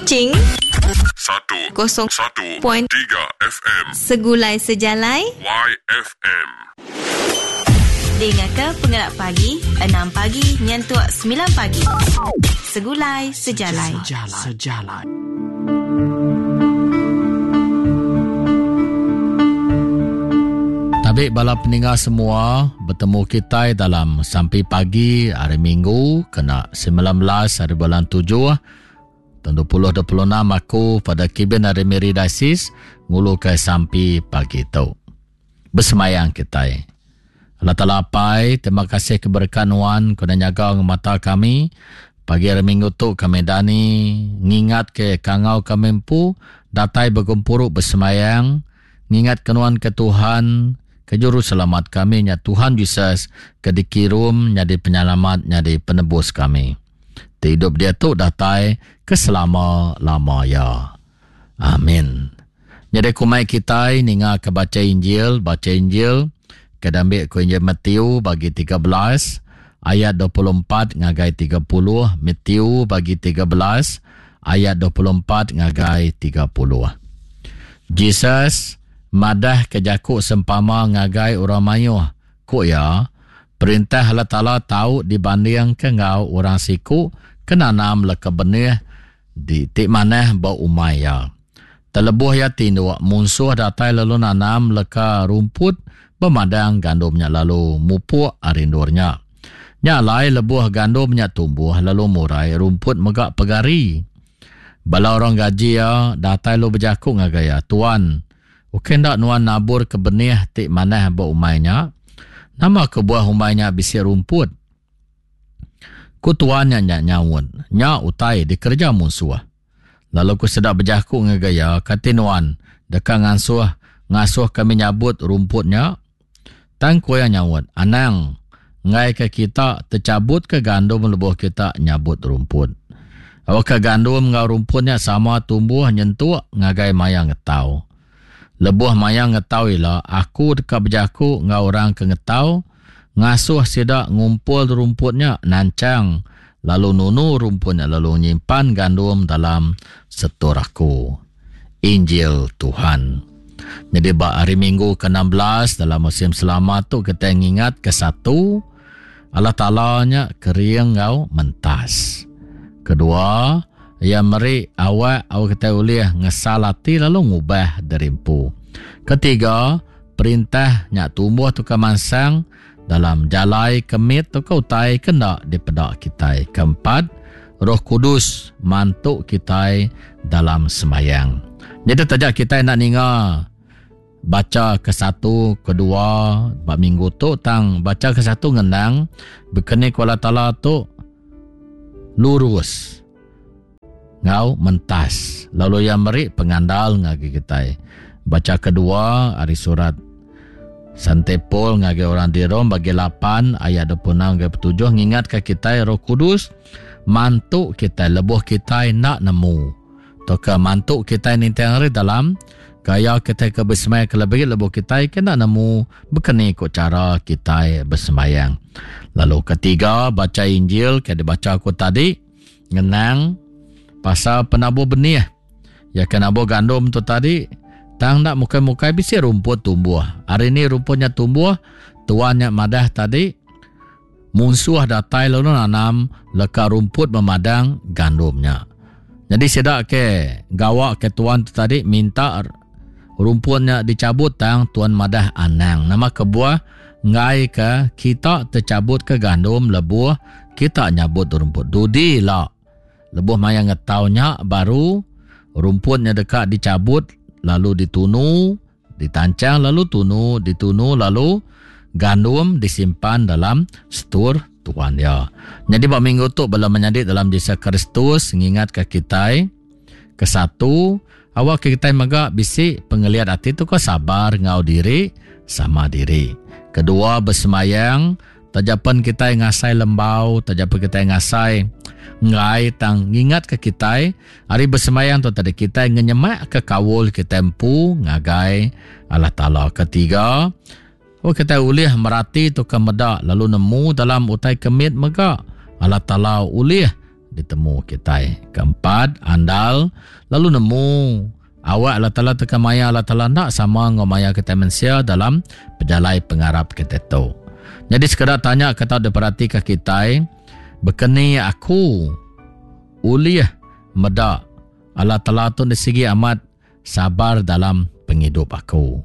Kuching 1 kosong 1 point 3 FM Segulai Sejalai YFM. Dengar ke pengelak pagi 6 pagi nyentuk 9 pagi. Segulai Sejalai. Sejalai. Sejalai. Tabi bala peninga semua, betemu kitai dalam sampi pagi hari Minggu kena 19 hari bulan 7 tahun 2026 aku pada kibin hari Miri Diocese ngulu ke sampi pagi tu. Besemayang kitai. Allah Taala Apai, terima kasih ke berkat nuan ke udah nyaga ngemata kami. Pagi hari Minggu tu kami dani ngingat ke kangau kami empu datai begempuru besemayang ngingat ke nuan ke Tuhan ke juru selamat kami nya Tuhan Jesus ke dikirum nyadi penyelamat nyadi penebus kami. Ti idup diatu datai ke selama-lama ya. Amin. Nyadi ku mai kitai ninga ke bacha Injil, bacha Injil ke diambi ku Injil Matthew bagi 13 ayat 24 ngagai 30, Matthew bagi 13 ayat 24 ngagai 30. Jesus madah ke jaku sempama ngagai orang mayuh, ku iya, Perintah Allah Taala tau dibandingka enggau orang siku ke nanam leka benih di ti manah ba umai iya. Tang lebuh iya tinduk, munsuh datai lalu nanam leka rumput ba madang gandum nya lalu mupuk ari endur nya. Nya alai lebuh gandum nya tumbuh lalu murai, rumput mega pegari. Bala orang gaji iya datai lalu bejaku ngagai iya, Tuan, ukai enda nuan naburka benih ti manah ba umai nya? Nama kebuah umai nya bisi rumput? Ku tuan nya nya nyaut, Nya utai dikereja munsuh. Lalu ku sida bejaku ngagai iya, Kati nuan deka ngasuh ngasuh kami nyabut rumput nya? Tang ku iya nyaut, Anang, enggaika kita techabutka gandum lebuh kita nyabut rumput. Awakka gandum enggau rumput nya sama tumbuh nyentuk ngagai maya ngetau. Lebuh maya ngetau ila, aku deka bejaku enggau orang ke ngetau, ngasuh sida ngumpul rumput nya nanchang lalu nunu rumput nya lalu nyimpan gandum dalam setor aku. Injil Tuhan. Nyadi ba hari Minggu ke-16 dalam musim selama tu kitai ngingat ke satu Allah Taala nya kering enggau mentas. Kedua, iya meri awak awak kitai ulih ngesal ati lalu ngubah diri empu. Ketiga, perintah nya tumbuh tauka mansang dalam jalai ke mit tauka utai ke enda dipeda kitai. Keempat, Roh Kudus mantu kitai dalam sembayang. Nyadi taja kitai enda ninga bacha ke satu, kedua ba minggu tu tang bacha ke satu ngenang bekeni ku Allah Taala tu lurus enggau mentas lalu iya meri pengandal ngagai kitai. Bacha kedua ari surat Sante Paul ngagai orang di Rome bagi 8 ayat 26 ngagai 27 ngingatka kitai Roh Kudus mantu kitai lebuh kitai enda nemu tauka mantu kitai ninting hari dalam gaya kitai ke besemaya ke lebih lebuh kitai ke enda nemu bekeni ku chara kitai besembayang. Lalu ketiga bacha Injil ke dibacha aku tadi ngenang pasal penabur benih. Ya ke nabur gandum tu tadi, tang enda mukai-mukai bisi rumput tumbuh. Hari ni rumput nya tumbuh, tuan nya madah tadi, munsuh datai lalu nanam leka rumput memadang gandum nya. Nyadi sida ke gawa ke tuan tu tadi minta rumput nya dicabut tang tuan madah anang. Nama kebuah enggai ke kita tercabut ke gandum lebuh kita nyabut rumput. Dudi ila. Lebuh maya ngetau nya baru, rumput nya deka dichabut lalu ditunu, ditanchang lalu tunu, ditunu lalu gandum disimpan dalam setur Tuan iya. Nyadi ba minggu tu bala menyadi dalam Jesus Kristus ngingatka kitai, kesatu, awakka kitai mega bisi pengeliat ati tu ke sabar enggau diri sama diri. Kedua, besembayang Taja pen kitai ngasai lembau, taja pen kitai ngasai enggai tang ngingatka kitai ari besembayang tu tadi kitai ngenyemakka kaul kitai empu ngagai Allah Taala. Ketiga, oh kitai ulih merati tauka meda lalu nemu dalam utai ke mit mega Allah Taala ulih. ditemu kitai. Keempat, andal lalu nemu awak Allah Taala teka maya Allah Taala enda sama enggau maya kitai mensia dalam pejalai pengarap kitai tu. Nyadi sekeda tanya ke tau diperatika kitai, Bekeni aku ulih meda Allah Taala tu sigi amat sabar dalam pengidup aku?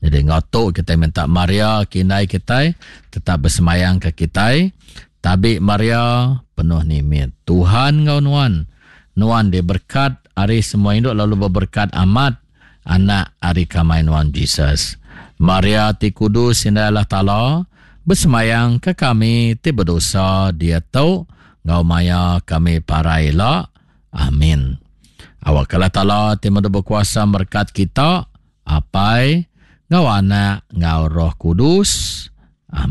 Jadi enggau tu kitai minta Maria ke indai kitai tetap besemayang ke kitai. Tabi Maria, penuh nimit. Tuhan enggau nuan. Nuan diberkat ari semua indu lalu beberkat amat anak ari kamai nuan Jesus. Maria ti kudus indai Allah Taala, besemayang ke kami ti bedosa diatu enggau maya kami parai ila. Amin. Awakka Allah Taala ti meda bekuasa merekat kita, Apai, enggau Anak, enggau Roh Kudus.